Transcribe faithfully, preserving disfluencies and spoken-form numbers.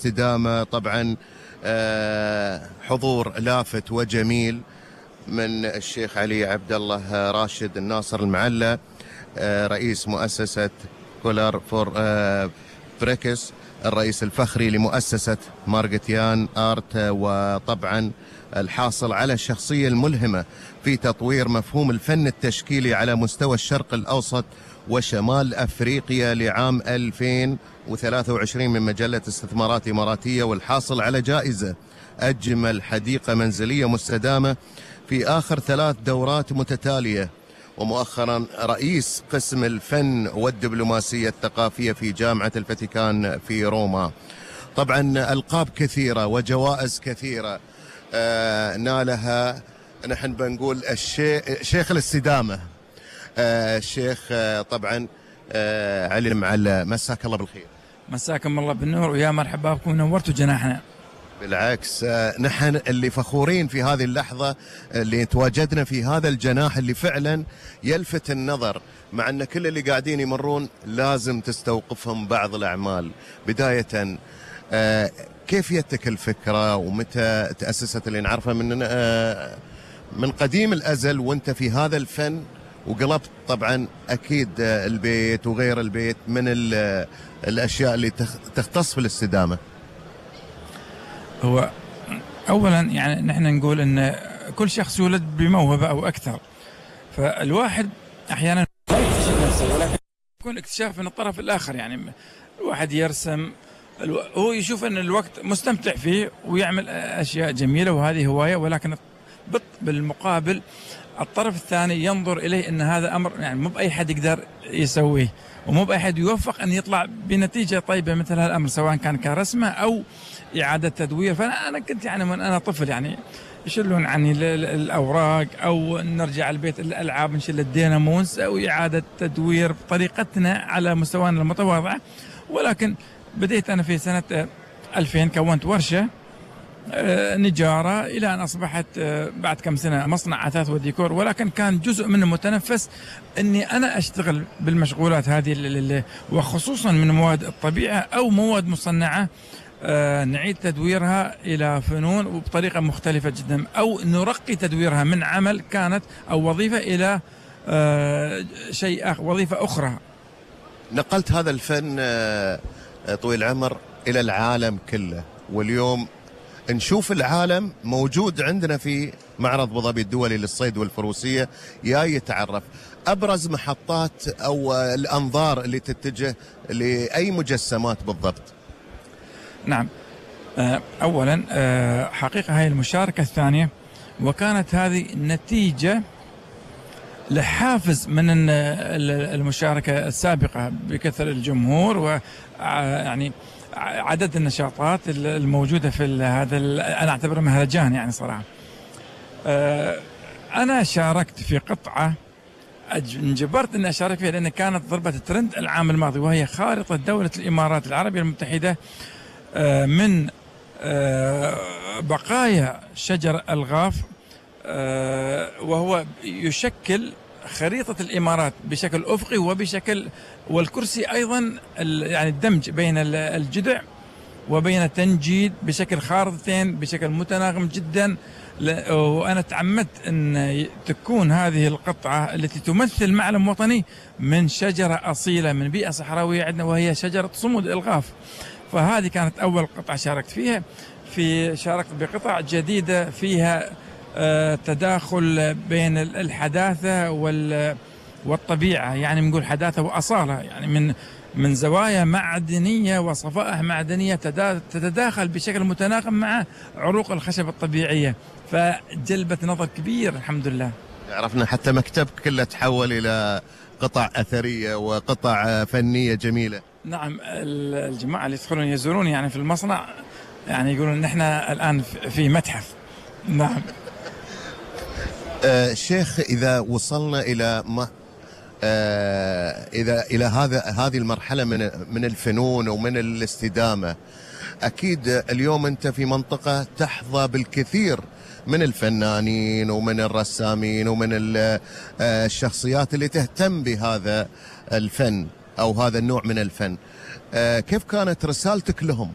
الاستدامة. طبعا حضور لافت وجميل من الشيخ علي عبد الله راشد الناصر المعلى، رئيس مؤسسة كولر فور بريكس، الرئيس الفخري لمؤسسة مارغتيان آرت، وطبعا الحاصل على الشخصية الملهمة في تطوير مفهوم الفن التشكيلي على مستوى الشرق الأوسط وشمال أفريقيا لعام ألفين وثلاثة وعشرين من مجلة استثمارات إماراتية، والحاصل على جائزة أجمل حديقة منزلية مستدامة في آخر ثلاث دورات متتالية، ومؤخرا رئيس قسم الفن والدبلوماسية الثقافية في جامعة الفاتيكان في روما. طبعا ألقاب كثيرة وجوائز كثيرة آه نالها، نحن بنقول الشيخ شيخ الاستدامة آه الشيخ آه طبعا آه علي المعلى. مساك الله بالخير. مساكم الله بالنور ويا مرحبا بكم، نورتوا جناحنا. بالعكس، نحن اللي فخورين في هذه اللحظة اللي تواجدنا في هذا الجناح اللي فعلا يلفت النظر، مع أن كل اللي قاعدين يمرون لازم تستوقفهم بعض الأعمال. بداية كيف جتك الفكرة ومتى تأسست؟ اللي نعرفها من من قديم الأزل وانت في هذا الفن، وقلبت طبعا أكيد البيت وغير البيت من الأشياء اللي تختص في الاستدامة. هو أولا يعني نحن نقول أن كل شخص يولد بموهبة أو أكثر، فالواحد أحيانا لا يكتشف نفسه ولكن يكون اكتشاف من الطرف الآخر. يعني الواحد يرسم، هو يشوف أن الوقت مستمتع فيه ويعمل أشياء جميلة وهذه هواية، ولكن بالمقابل الطرف الثاني ينظر إليه أن هذا أمر يعني مو بأي حد يقدر يسويه، ومو بأي حد يوفق أن يطلع بنتيجة طيبة مثل هذا الأمر، سواء كان كرسمة أو إعادة تدوير. فأنا أنا كنت يعني من أنا طفل يعني يشلون عني الأوراق أو نرجع البيت الألعاب نشيل الدينامونس أو إعادة تدوير بطريقتنا على مستوانا المتواضعة. ولكن بديت أنا في سنة ألفين، كونت ورشة نجارة إلى أن أصبحت بعد كم سنة مصنع أثاث وديكور، ولكن كان جزء من المتنفس أني أنا أشتغل بالمشغولات هذه، وخصوصا من مواد الطبيعة أو مواد مصنعة نعيد تدويرها إلى فنون وبطريقة مختلفة جدا، أو نرقي تدويرها من عمل كانت أو وظيفة إلى شيء آخر، وظيفة أخرى. نقلت هذا الفن طويل العمر إلى العالم كله، واليوم نشوف العالم موجود عندنا في معرض أبو ظبي الدولي للصيد والفروسية. يا يتعرف أبرز محطات أو الأنظار اللي تتجه لأي مجسمات بالضبط؟ نعم، أولا حقيقة هاي المشاركة الثانية، وكانت هذه نتيجة لحافز من المشاركة السابقة بكثر الجمهور ويعني عدد النشاطات الموجودة في هذا، أنا أعتبره مهرجان يعني صراحة. أنا شاركت في قطعة انجبرت أن أشارك فيها لأن كانت ضربة الترند العام الماضي، وهي خارطة دولة الإمارات العربية المتحدة من بقايا شجر الغاف، وهو يشكل خريطة الإمارات بشكل أفقي وبشكل، والكرسي أيضا يعني الدمج بين الجذع وبين التنجيد بشكل خارطتين بشكل متناغم جدا. وأنا تعمدت أن تكون هذه القطعة التي تمثل معلم وطني من شجرة أصيلة من بيئة صحراوية عندنا، وهي شجرة صمود الغاف. فهذه كانت أول قطعة شاركت فيها. في شاركت بقطع جديدة فيها تداخل بين الحداثة والطبيعة، يعني بنقول حداثة وأصالة، يعني من من زوايا معدنية وصفائح معدنية تتداخل بشكل متناغم مع عروق الخشب الطبيعية، فجلبت نظر كبير الحمد لله. عرفنا حتى مكتبك كله تحول إلى قطع أثرية وقطع فنية جميلة. نعم، الجماعة اللي يدخلون يزورون يعني في المصنع يعني يقولون نحن الآن في متحف. نعم. آه شيخ، إذا وصلنا إلى ما آه إذا إلى هذا هذه المرحلة من من الفنون ومن الاستدامة، أكيد اليوم أنت في منطقة تحظى بالكثير من الفنانين ومن الرسامين ومن الشخصيات اللي تهتم بهذا الفن أو هذا النوع من الفن. آه كيف كانت رسالتك لهم